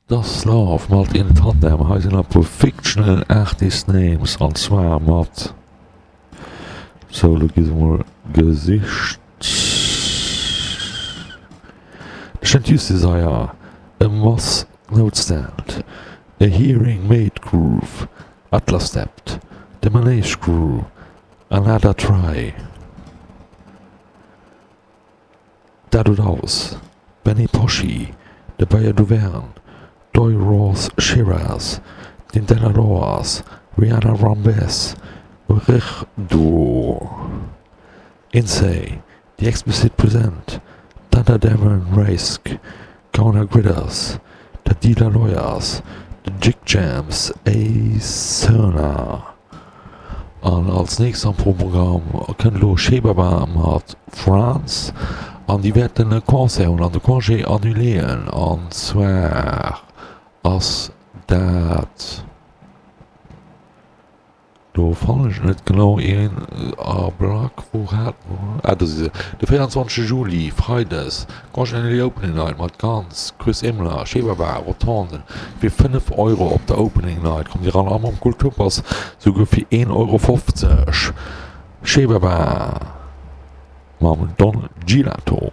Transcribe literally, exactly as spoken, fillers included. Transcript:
Das Love mat In Tandem. Hei sinn e puer fictional artist names an zwar mat, sou lo gi se mol gesicht, The Chanteuse Desire, A Moss Notestand, A Hearing Made Groove, Atlas Stepped, The Manege Crew, Another Try, Dadodaus, Benny Poschi, De Bayer Duverne, Doy Ross Shiraz, Dindella Loas, Rihanna Rambes, Rich Duo, Insay, The Explicit Present, Thunder Darren Raisk, Counter Gritters, The Dealer Lawyers, The Jig Jams, A Cerna. An als nächst am Programm kënnt elo Shebaba mat France an déi wäerten e Concert hunn an de Congé annuléen an zwar ass dat, do fannen ech et net genau, een Ablack, wou hat, ah do si se, de véierundzwanzege Juli, Freides, Congé annulé Opening Night mat Guns, Chris Imler, Shebaba, Rotonden, fir fënnef Euro op der Opening Night kommt Dir eran a mam Kulturpass souguer fir een Euro fofzeg. Shebaba mam Don Gilato.